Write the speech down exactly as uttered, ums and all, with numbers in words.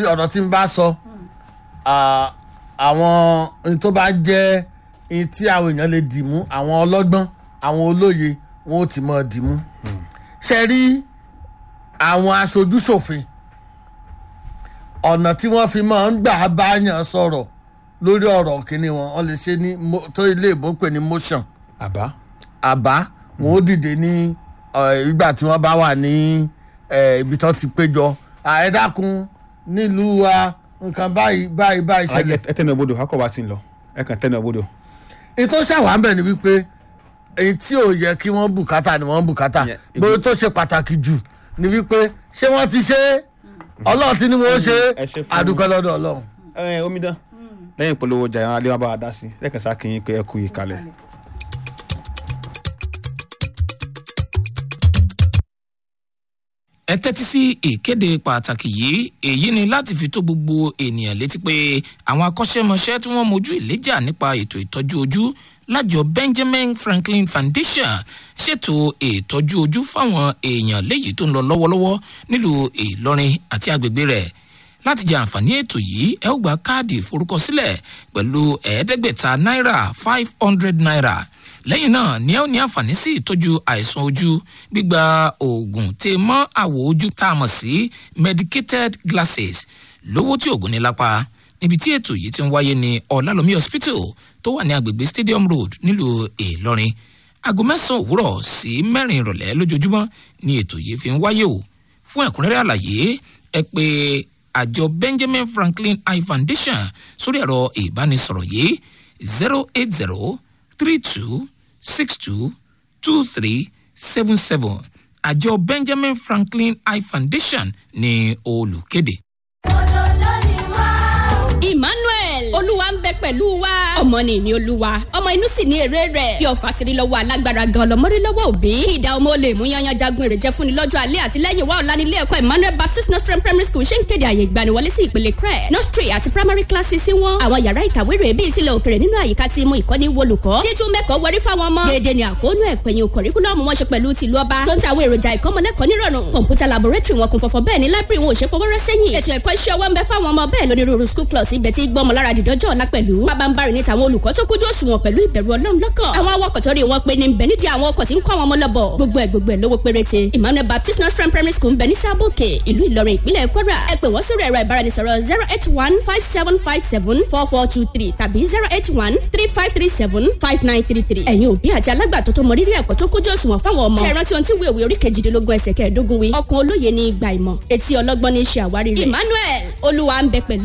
Ọ̀rọ̀ tí ń bá sọ, à, àwọn ohun tó bá jẹ́ ohun tí àwọn èèyàn lè dì mú, àwọn ọlọ́gbọ́n, àwọn olóye, wọn ò ti mọ̀ dì mú. Ṣe rí àwọn aṣojúṣòfin, ọ̀nà tí wọ́n fi máa ń gbà bá yàn sọ̀rọ̀ lórí ọ̀rọ̀ kìíní wọn, wọ́n lè ṣe ní mo- tó ilé ìbò pè ní motion. Àbá. Àbá wọn ó dìde ní eh, ìgbà tí wọ́n bá wà ní eh, ibi tó ti péjọ, "Ah, ẹ dákun, nílùú wa, nǹkan báyìí báyìí báyìí ṣẹlẹ̀." Ẹ tẹnu ọbọdọ akọ wa ti ń lọ, ẹ kàn tẹnu ọbọdọ. Ètò ṣàwà ń bẹ̀ ni wípé èyí tí ò yẹ kí wọ́n bùkátà ni wọ́n bùkátà. Yeah. Bóyá tó ṣe pàtàkì jù ni wípé ṣé wọ́n ti ṣe é, Ọlọ́run ti ní wọ́n ṣe Ẹ é. ṣe fún- Àdúpẹ́ lọ́dọ̀ Ọlọ́run. Ẹ omidan, lẹ́yìn ìpolówó ọjà ìran alẹ́ wa bá wa dá sí lẹ́ẹ̀kan sá kí yín pé ẹ kú ìkàlẹ̀. Ẹ tẹ́tí sí ìkéde pàtàkì yìí. Èyí ni láti fi tó gbogbo ènìyàn létí pé àwọn akọ́ṣẹ́mọṣẹ́ tí wọ́n mojú ìléjà nípa ètò ìtọ́jú ojú lájọ Benjamin Franklin Foundation ṣètò ìtọ́jú ojú fáwọn èèyàn léyìí tó ń lọ lọ́wọ́lọ́wọ́ nílùú Ìlọrin àti agbègbè rẹ̀. Láti jẹ àǹfààní ètò yìí, ẹ ó gba káàdì ìforúkọsílẹ̀ pẹ̀lú ẹ̀ẹ́dẹ́gbẹ̀ta náírà, five hundred naira. Lẹ́yìn náà ni ẹ ó ní àǹfààní sí ìtọ́jú àìsàn ojú, gbígba oògùn tè mọ́ àwọ̀ ojú tá a mọ̀ sí medicated glasses lówó tí oògùn ní lápá. Níbi tí ètò yìí ti ń wáyé ní Ọ̀làlómi Hospital tó wà ní agbègbè Stadium Road nílùú Ìlọrin. Aago mẹ́sàn-án òwúrọ̀ sí mẹ́rin ìrọ̀lẹ́ lójoojúmọ́ ni ètò yìí fi ń wáyé o. Fún ẹ̀kúnrẹ́rẹ́ àlàyé, ẹ pè àjọ Benjamin Franklin Eye Foundation sórí ẹ̀rọ ìbánisọ̀rọ̀ yìí: zero eight zero three two six two two three seven seven. Àjọ Benjamin Franklin Eye Foundation ní olùkéde. Emmanuel, Olúwa ń bẹ pẹ̀lú wa. Ọmọ ni ìní Olúwa, ọmọ inú sì ní èrè rẹ̀. Bí ọ̀fà tiri lọ́wọ́ alágbára gan lọ́mọrí lọ́wọ́ òbí. Kí ìdá ọmọ olè mú yanyan jagun èrè jẹ fúnni lọ́jọ́ alẹ́ àti lẹ́yìn wá ọ̀la nílé ẹ̀kọ́ Emmanuel Baptist Nursery Primary School ṣe ń kéde àyè ìgbaniwọlé sí ìpele crèche, nursery àti primary classes sí wọn. Àwọn yàrá ìkàwé rẹ̀ bíi tilẹ̀ òkèrè nínú àyíká ti mú ìkọ́ni wolùkọ́. Títún mẹ́kọ̀ọ́ wọrí fáwọn ọmọ. Déédéé ni àkóónú ẹ̀kọ́ ẹ̀yìn kọ̀ríkúlọ́ọ̀mù wọn ṣe pẹ̀lú tìlú ọba tó ń ta àwọn èròjà ìkọ́mọlẹ́kọ̀ọ́ nírọ̀rùn. Kọ̀ǹpútà laboratory wọn kún fọ́fọ́, bẹ́ẹ̀ ni library wọn ò ṣe fọwọ́rọ́ sẹ́yìn. Ètò ẹ̀kọ́ iṣẹ́ ọwọ́ ń bẹ fáwọn ọmọ, bẹ́ẹ̀ lónírúurú school clubs ibẹ̀ tí gbọ́mọ lára dìdọ́jọ́ ọ̀la pẹ̀lú. Pabambarì ní tàwọn olùkọ́ tó kójú òṣùwọ̀n pẹ̀lú ìbẹ̀rù Ọlọ́run lọ́kàn. Àwọn awakọ̀ tó rí wọn pé ní ń bẹ nídìí àwọn ọkọ̀ tí ń kọ́ àwọn ọmọ lọ́bọ̀. Gbogbo ẹ̀ gbogbo ẹ̀ lówó péréte. Emmanuel Baptist Nursery Primary School ń bẹ ní Sábòkè, ìlú Ìlọrin, ìpínlẹ̀ Kwara. Ẹ pè wọ́n sórí ẹ̀rọ ìbáraẹnisọ̀rọ̀ zero eight one five seven five seven four four two three tàbí zero eight one three five three seven five nine three three. Ẹ̀yin òbí àti alágbàtọ́ tó mọ rírì ẹ̀kọ́ tó kójú òṣùwọ̀n fáwọn ọmọ. Ṣé ẹ rántí ohun tí ìwé òwe orí kejìdínlógún ẹsẹ̀ kẹẹ̀ẹ́dógún wí? Ọkàn olóye ní ìgbà ìmọ̀, etí ọlọ́gbọ́n ní í ṣe àwárí rẹ̀. Emmanuel, Olúwa ń bẹ pẹ̀lú.